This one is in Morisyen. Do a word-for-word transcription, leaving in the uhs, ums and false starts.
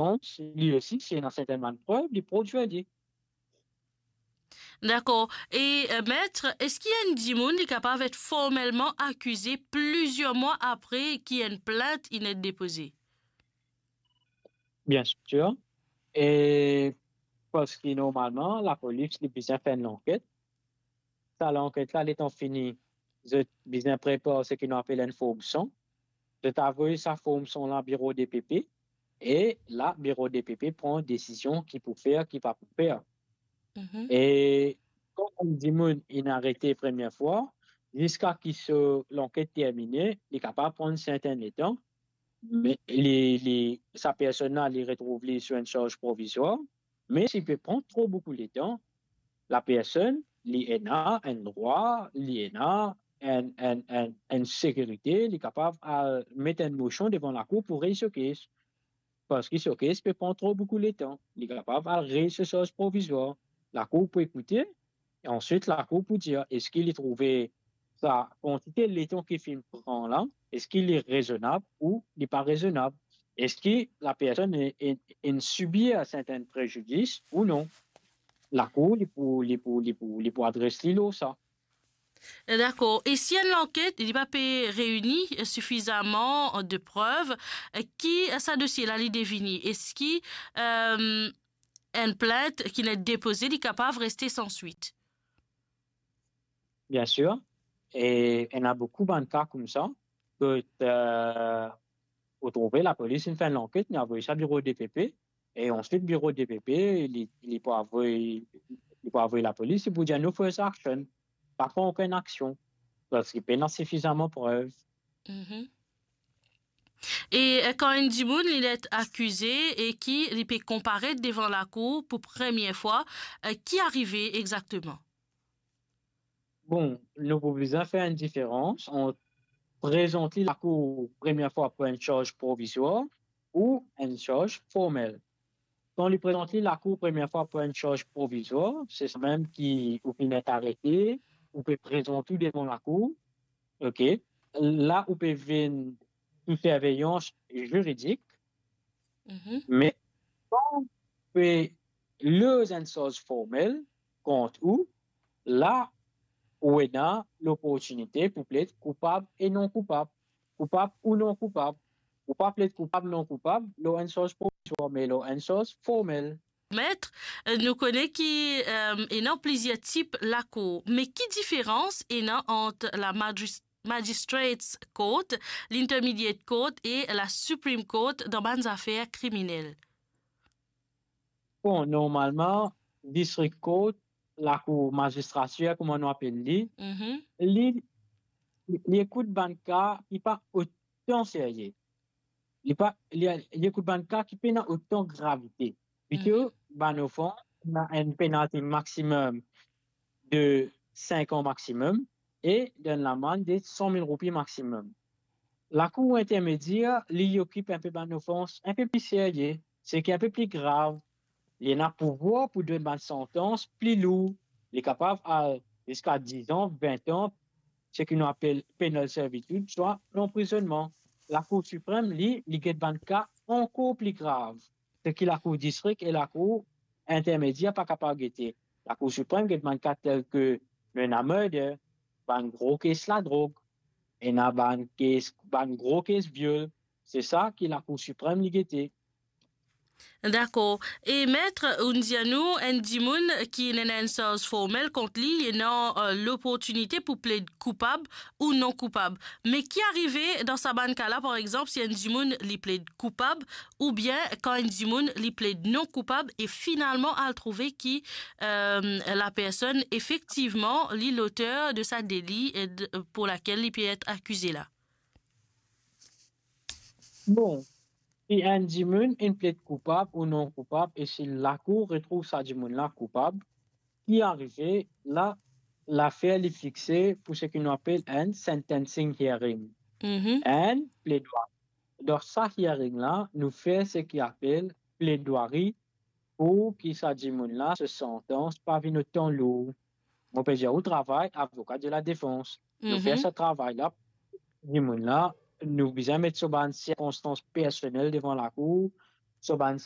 sirkonstans, li osi, si ena sertin bann prev, li prodwir li. Dakor. E, eh, met, eski enn dimoun li kapav et formelman akize plizier mwa apre ki enn plint inn et depoze? Bien sir. E parski normalman, lapolis li bizin fer enn lanket. Sa lanket la, letan fini, zot bizin prepar seki nou apel enn form son. Zot avoy sa form son la biro DPP, e la, biro DPP pran desizion ki pou fer, ki pa pou fer. Mhm. E kan enn dimoun inn arete premie fwa, ziska ki so lanket termine, li kapav pran sertin letan, me li, li, sa personn la, li retrouv li sou enn sarz provizwar, me si pe pran tro boukou letan, la personn, li ena enn drwa, li ena enn, enn, enn, enn sekirite, li kapav al met enn mosion devan lakour pou rey so kes. Parski so kes pe pran tro boukou letan. Li kapav al rey so sarz provizwar. Lakour pou ekoute, e answit lakour pou dir eski li trouve sa kantite letan ki finn pran la, eski li rezonab ou li pa rezonab, eski la personn e, e, inn sibir sertin prejidis ou non. Lakour, li pou, li pou, li pou, li pou adres li lor sa. Dakor. E si enn lanket, li pa pe reini sifizaman de prev, ki sa dosie la li devini? Eski, eh, enn plint ki inn et depoze, li kapav reste san swit? Bien sir. E ena boukou bann ka koumsa, kot, eh, ou trouve lapolis inn fer enn lanket, li avoy sa biro DPP, e answit biro DPP, li, li pou avoy, li pou avoy lapolis, li pou dir nou first action, pa pran okenn aksion, parski pena sifizaman prev. Mhm. E, eh, kan enn dimoun li et akize e ki li pe konparet devan lakour pou premie fwa, eh, ki arive exakteman? Bon, nou pou bizin fer enn diferans ant prezant li lakour premie fwa pou enn sarz provizwar ou enn sarz formel. Kan li prezant li lakour premie fwa pou enn sarz provizwar, se sa mem ki ou finn et arete, ou pe prezant ou devan lakour, ok? La ou pe vinn sou sirveyans ziridik, mhm, me kan ou pe loz enn sarz formel kont ou, la ou ena loportinite pou pled koupab e non koupab. Koupab ou non koupab. Ou pa pled koupab, non koupab, lor enn sarz provizwar, me lor enn sarz formel. Met, eh, nou kone ki, eh, ena plizier tip lakour, me ki diferans ena ant la magis-, Magistrates Court, l'Intermediate Court e la Supreme Court dan bann zafer kriminel? Bon, normalman, District Court, lakour mazistratir, kouma nou apel li, mhm, li, li ekout bann ka ki pa otan serye. Li pa, li, li ekout bann ka ki pena otan gravite. Plito, mhm, bann ofans, ena enn penalti maximum de cinq ans maximum e enn lamann de cent mille roupi maximum. Lakour intermedier, li okip enpe bann ofans enpe pli serye, seki enpe pli grav. Li ena pouvwar pou donn bann santans pli lour. Li kapav al ziska dix ans, vingt ans, seki nou apel penal servitude, swa lanprizonnman. Lakour Siprem, li, li get bann ka ankor pli grav, seki lakour distrik e lakour intermedier pa kapav gete. Lakour Siprem get bann ka tel ke nou ena murder, bann gro kes ladrog, ena bann kes, bann gro kes viol. Se sa ki Lakour Siprem li gete. Dakor. E met, ou'nn dir nou, enn dimoun ki ena enn sarz formel kont li, li ena, eh, loportinite pou pled koupab ou non koupab. Me ki arive dan sa bann ka la, par exanp, si enn dimoun li pled koupab, oubien kan enn dimoun li pled non koupab e finalman al trouve ki, eh, la personn efektivman li loter de sa deli, eh, de, pour laquelle li pe et akize la? Bon, si enn dimoun inn pled koupab ou non koupab e si lakour retrouv sa dimoun la koupab, ki arive la, lafer li fixe pou seki nou apel enn sentencing hearing. Mhm. Enn pledwari. Dan sa hearing la, nou fer seki apel pledwari pou ki sa dimoun la, so santans pa vinn otan lour. Mo pe dir ou travay avoka de la defans. Nou fer sa travay la, dimoun la, nou bizin met so bann sirkonstans personel devan lakour, so bann